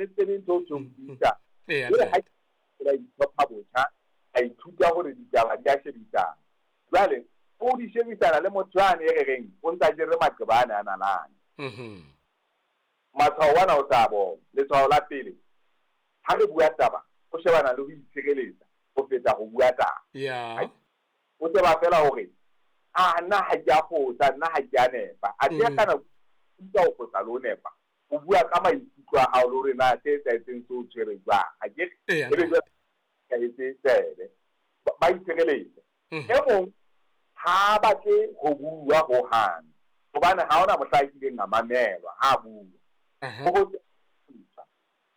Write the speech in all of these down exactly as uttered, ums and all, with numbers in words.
re tsebe ntho o tshong buisa. Jwale ha ke la itlhopha botjha, a ithuta hore ditaba di a shebisana. Jwale o di shebisana le motho yane e re reng o ntsa jere maqeba ana a nalane. Mhm. Matshwao ana o tla bona. Letshwao la pele, ha re bua taba, o shebana le ho itshireletsa ho feta ho bua taba. Yeah. O tseba fela hore a nna ha ke a fosa, nna ha ke a nepa. A ke kana o ho fosa le ho nepa. O bua ka maikutlo a hao le hore na se etsahetseng se o tshwere jwang. Ha ke Eya, ebe jwale ka etse tsebe. Ba itshireletsa. E mong ha batle ho bua ho hang. Hobane ha hona mohla a kileng a mamelwa ha bua. Uh-huh.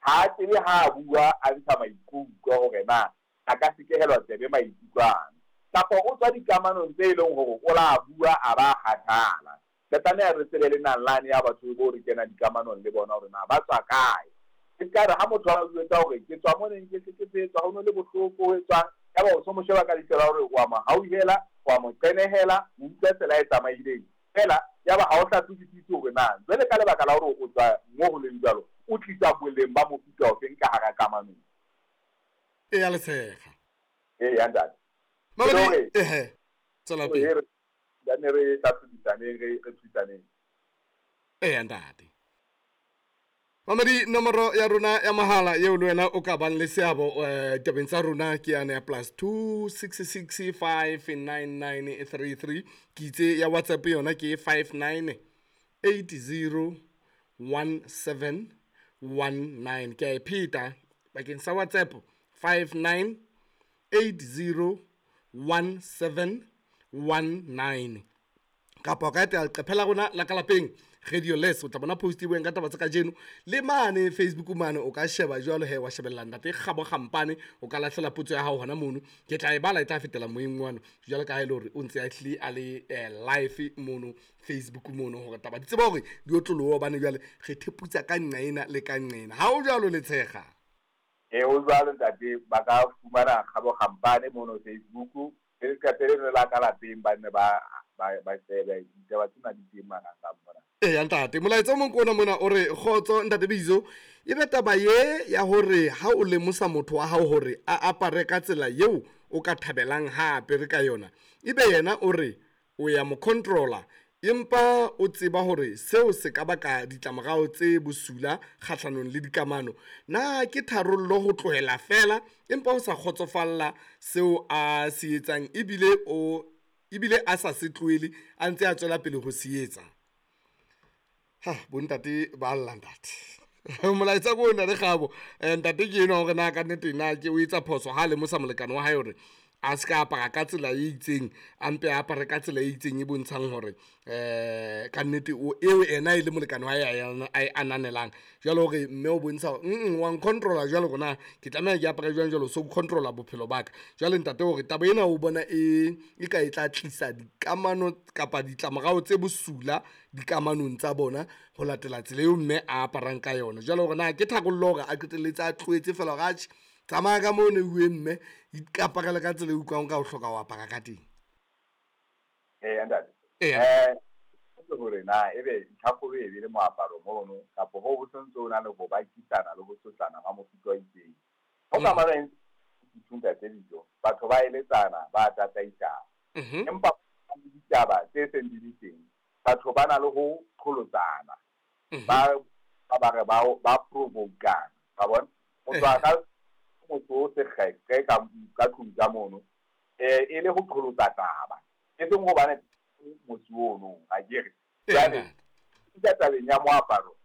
Ha tsebe ha bua a ntsha maikutlo hore na a ka sekehelwa tsebe maikutlo ana. Kapa o tswa dikamanong tse leng hore o la bua a ba kgathala. Re tlameha re tsebe le nalane ya batho bo re kena dikamanong le bona hore na ba tswa kae. E ka re ha motho a jwetsa hore ke tswa moneng ke hlekefetswa, ho no le bohloko ho etswang, yaba o so mo sheba ka leihlo la hore wa mo hauhela, wa mo qenehela, o utlwa tsela e tsamaileng. Fela yaba ha o hlatswisise hore na jwale ka lebaka la hore o tswa mo ho leng jwalo, o tlisa boleng ba mofuta ofeng ka hara kamano. Eya Letshega. Eya ntate. Mamedi, ehe. Tswela pele. Re ne re hlatswisaneng, re re thusaneng. Eya ntate. Mamedi, nomoro ya rona ya mahala eo le wena o ka bang le seabo eh tabeng tsa rona ke yane ya plus two six six five nine nine three three. Ke itse ya WhatsApp yona ke five nine eight zero one seven one nine. Ke a e pheta bakeng sa WhatsApp five nine eight zero one seven one nine. Kapa o ka etela leqephe la rona la ka lapeng Radio Les, o tla bona post e bueng ka taba tsa kajeno. Le mane Facebook mane o ka sheba jwalo he wa shebella ntate Kgabo Kgampane, o ka lahlela potso ya hao hona mono. Ke tla e bala e tla fetela moyeng wano jwalo ka ha e le hore o ntse a hlile a le eh, live mono Facebook mono hore taba di tseba hore di otloloha hobane jwale re theputsa ka nqa ena le ka nqa ena. Ha o jwalo Letshega? E o jwalo ntate, ba ka fumana Kgabo Kgampane mono Facebook. Le leqephe leno la ka lapeng ba ne ba ba ba shebe ditaba tsena di teng marangrang mona. Eya ntate, molaetsa o mong ke ona mona o re kgotso ntate Bizo, e be taba ye ya hore ha o lemosa motho wa hao hore a apare ka tsela eo o ka thabelang ha apere ka yona, ebe yena o re o ya mo controller, empa o tseba hore seo se ka baka ditlamorao tse bosula kgahlanong le dikamano. Na ke tharollo ho tlohela fela empa o sa kgotsofalla seo a se etsang ebile o ebile a sa se tlohele a ntse a tswela pele ho se etsa? Ha bontate ba lla ntate. Molaetsa ko ntate Kgabo, eh, ntate ke enwa hore na ka nnete na ke o etsa phoso ha lemosa molekane wa hae hore a se ka apara ka tsela e itseng, a mpe a apare ka tsela e itseng e bontshang hore eh ka nnete o eo ena e le molekane wa hae a e ananelang. Jwale hore mme o bontsha hore mm wa ncontrola jwale hore na ke tlameha ke apare jwang jwalo, so controla bophelo ba ka. Jwale ntate hore taba ena o bona e e ka e tla tlisa dikamano kapa ditlamorao tse bosula dikamanong tsa bona ho latela tsela eo mme a aparang ka yona. Jwale hore na ke tharollo hore a qetelletse a tlohetse fela hore atjhe tsamaya ka moo ne uwe mme ikaparela ka tsela e utlwang ka o hloka ho apara ka teng. Eya ntate. Eya. Eh, ke hore na ebe ntlhakgolo e be le moaparo mono kapa ho bo sentse o na le ho bakisana le ho sotlana ha mofuta o itseng. Ho ka mara ithunta tse dijo, batho ba eletsana, ba tataisana. Mhm. Empa ditaba tse seng di le teng, batho ba na le ho qholotsana. Mhm. Ba ba ba re ba ba provokana. Wa bona? O tswa ka motho o sekgeqe ka ka tlung ka mono, eh e le ho qholotsa taba. E seng hobane motho ono ha ke re. Jwale ka tabeng ya moaparo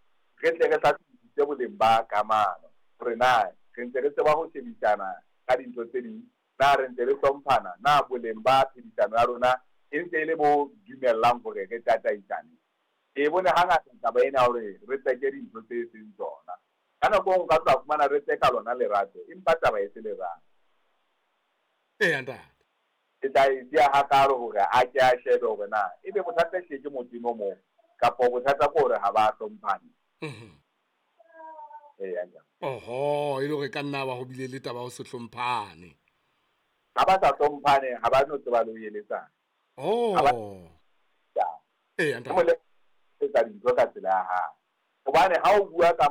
re tle re hlahlobisise boleng ba kamano hore na re ntse re tseba ho shebisana ka dintho tse ding, na re ntse re hlomphana, na boleng ba phedisano ya rona e ntse e le bo dumellang hore re tataisane. E bone hangata taba ena hore re tseke dintho tse seng tsona. Ka nako e nngwe o ka tla fumana re tseka lona lerato, empa taba e se lerato. Eya ntate. Ke tla e siya hakalo hore a ke a shebe hore na ebe bothata hle ke motho mo kapa bothata ke hore ha ba hlomphane. Mhm. Eya ntate. Oho, e le hore ka nna ba ho bile le taba ho se hlomphane. Ha ba sa hlomphane, ha ba no tseba le ho eletsana. Oh. Ha ba Eya ntate. Mo le etsa dintho ka tsela ya hae. Hobane ha o bua ka